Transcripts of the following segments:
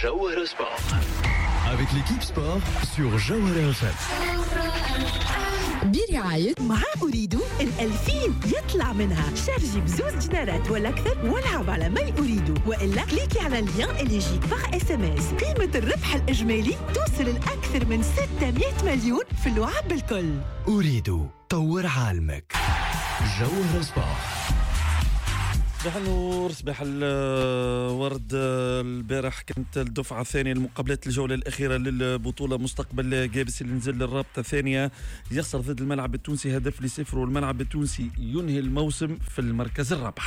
جوهرة Sport. Avec l'équipe sport sur Jawhara FM. برعاية مع Ooredoo ال2000 يطلع منها. شارجي ب2 دينارات ولا أكثر والعب على My Ooredoo، وإلا كليكي على ال lien اللي يجيك par SMS. قيمة الربح الإجمالي توصل لأكثر من 600 مليون في اللعب الكل. Ooredoo، طور عالمك. جوهرة Sport. صباح النور، صباح الورد. البارح كانت الدفعة الثانية لمقابلات الجولة الأخيرة للبطولة. مستقبل قابس اللي نزل للرابطة الثانية يخسر ضد الملعب التونسي 0-1، والملعب التونسي ينهي الموسم في المركز الرابع.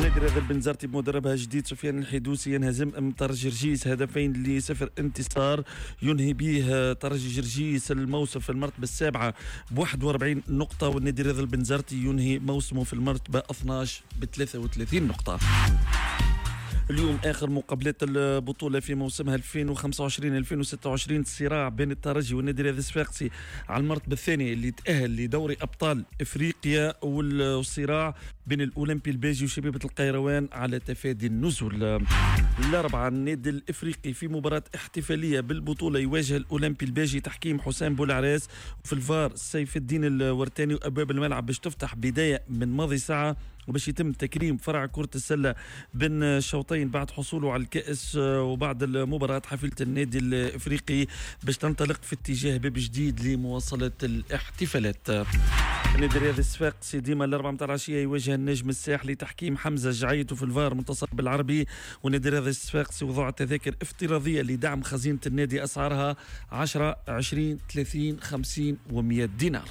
نادي الرياضي البنزرتي بمدربها الجديد سفيان الحيدوسي ينهزم امام ترجي جرجيس 2-0، انتصار ينهي به ترجي جرجيس الموسم في المرتبة السابعة ب 41 نقطة، والنادي الرياضي البنزرتي ينهي موسمه في المرتبة 12 ب 33 نقطة. اليوم اخر مقابلات البطولة في موسمها 2025 2026، صراع بين الترجي والنادي الرياضي الصفاقسي على المرتبة الثانية اللي تاهل لدوري ابطال افريقيا، والصراع بين الاولمبي الباجي وشبيبه القيروان على تفادي النزول. الاربعاء النادي الافريقي في مباراة احتفالية بالبطولة يواجه الاولمبي الباجي، تحكيم حسام بولعراس وفي الفار سيف الدين الورتاني، وابواب الملعب باش تفتح بداية من ماضي ساعه، وباش يتم تكريم فرع كرة السلة بين الشوطين بعد حصوله على الكأس. وبعد المباراة حافلة النادي الإفريقي باش تنطلق في اتجاه باب جديد لمواصلة الاحتفالات. النادي الرياضي الصفاقسي ديما ال4 متاع العشية يواجه النجم الساحلي، تحكيم حمزة جعيط وفي الفار منتصر بالعربي. والنادي الرياضي الصفاقسي وضع تذاكر افتراضية لدعم خزينة النادي، أسعارها 10، 20، 30، 50 و100 دينار.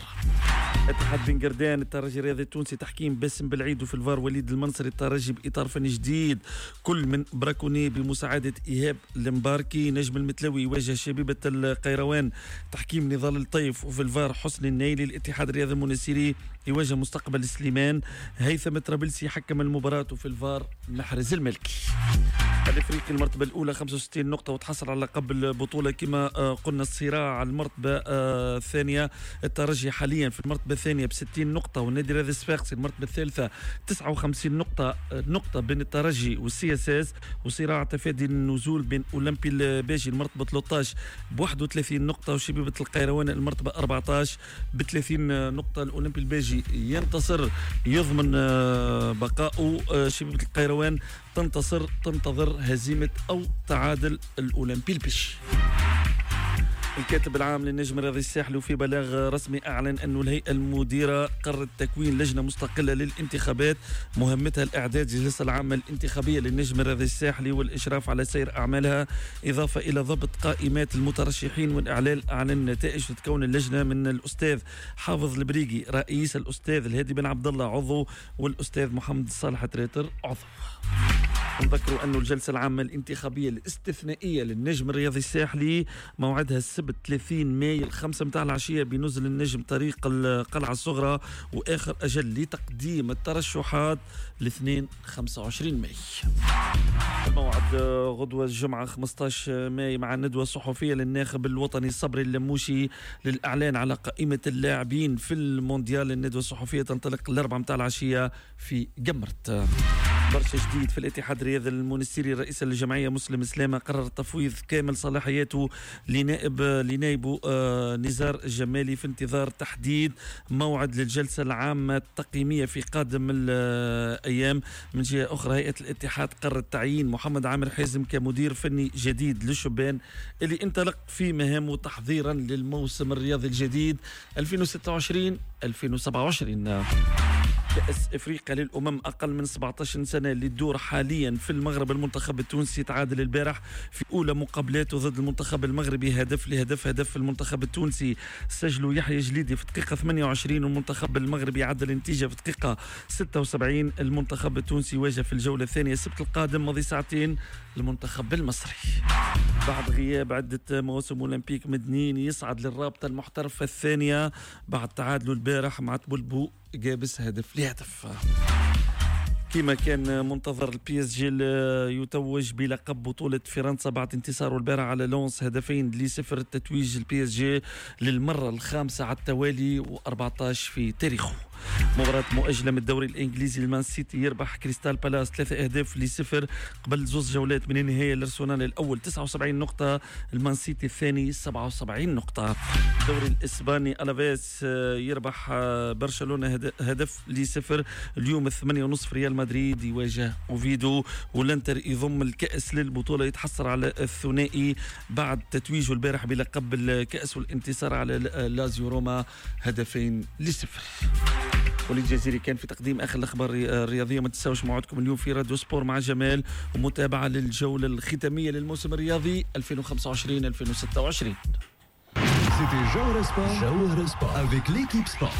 اتحاد بن قردان الترجي الرياضي التونسي، تحكيم باسم بالعيد وفي الفار وليد المنصري. الترجي باطار فني جديد، كل من براكوني بمساعدة ايهاب المباركي. نجم المتلوي يواجه شبيبة القيروان، تحكيم نضال الطيف وفي الفار حسن النايلي. الاتحاد الرياضي المنستيري يواجه مستقبل سليمان، هيثم الطرابلسي حكم المباراة وفي الفار محرز الملكي. الافريقي المرتبة الاولى 65 نقطة وتحصل على لقب البطوله. كما قلنا، الصراع على المرتبة الثانيه، الترجي حاليا في المرتبة الثانية ب 60 نقطه، والنادي الرياضي الصفاقسي المرتبة الثالثة 59 نقطه، نقطة بين الترجي وال CSS. وصراع تفادي النزول بين اولمبي الباجي المرتبة 13 ب 31 نقطة وشبيبه القيروان المرتبة 14 ب 30 نقطه. الاولمبي الباجي ينتصر يضمن بقائه، شبيبة القيروان تنتصر تنتظر هزيمة أو تعادل الأولمبي الباجي. الكاتب العام للنجم الرياضي الساحلي في بلاغ رسمي أعلن أن الهيئة المديرة قررت تكوين لجنة مستقلة للانتخابات مهمتها الإعداد للجلسة العامة الانتخابية للنجم الرياضي الساحلي والإشراف على سير أعمالها، إضافة إلى ضبط قائمات المترشحين والإعلان عن النتائج. تتكون اللجنة من الأستاذ حافظ البريقي رئيس، الأستاذ الهادي بن عبد الله عضو، والأستاذ محمد صالح تريتر عضو. نذكروا أن الجلسة العامة الانتخابية الاستثنائية للنجم الرياضي الساحلي موعدها السبت 30 ماي 5 متاع العشية بنزل النجم طريق القلعة الصغرى، وآخر أجل لتقديم الترشحات الاثنين 25 ماي. الموعد غدوة الجمعة 15 ماي مع الندوة الصحفية للناخب الوطني صبري اللموشي للإعلان على قائمة اللاعبين في المونديال. الندوة الصحفية تنطلق 4 متاع العشية في قمرت. برشا جديد في الاتحاد الرياضي المونستيري. رئيس الجمعية مسلم سلامه قرر تفويض كامل صلاحياته لنائبه نزار الجمالي في انتظار تحديد موعد للجلسه العامة التقييميه في قادم الايام. من جهة اخرى، هيئة الاتحاد قررت تعيين محمد عامر حازم كمدير فني جديد للشبان اللي انطلق في مهامه تحضيرا للموسم الرياضي الجديد 2026 2027. كأس افريقيا للامم اقل من 17 سنة اللي تدور حاليا في المغرب، المنتخب التونسي تعادل البارح في اولى مقابلاته ضد المنتخب المغربي 1-1. هدف المنتخب التونسي سجلوا يحيى جليدي في دقيقة 28، والمنتخب المغربي عدل النتيجة في دقيقة 76. المنتخب التونسي واجه في الجولة الثانية السبت القادم ماضي ساعتين المنتخب المصري. بعد غياب عدة مواسم، أولمبيك مدنين يصعد للرابطة المحترفة الثانية بعد تعادله البارح مع تبلبو قابس 1-0. كما كان منتظر، ال PSG يتوج بلقب بطولة فرنسا بعد انتصاره البارح على لونس 2-0. تتويج ال PSG للمرة الخامسة على التوالي و14 في تاريخه. مباراة مؤجلة من الدوري الإنجليزي، المان سيتي يربح كريستال بالاس 3 أهداف ل0. قبل زوز جولات من النهاية، الأرسنال الأول 79 نقطة، المان سيتي الثاني 77 نقطة. الدوري الإسباني، ألافيس يربح برشلونة هدف ل0. اليوم 8:30 ريال مدريد يواجه أوفيدو. والانتر يضم الكأس للبطولة، يتحصل على الثنائي بعد تتويجه البارح بلقب الكأس والانتصار على لازيو روما 2-0. وليد الجزيري كان في تقديم اخر الاخبار الرياضيه. ما تنساوش موعدكم اليوم في راديو سبور مع جمال ومتابعة للجوله الختامية للموسم الرياضي 2025 2026. C'était Jawhara Sport. Jawhara Sport avec l'équipe sport.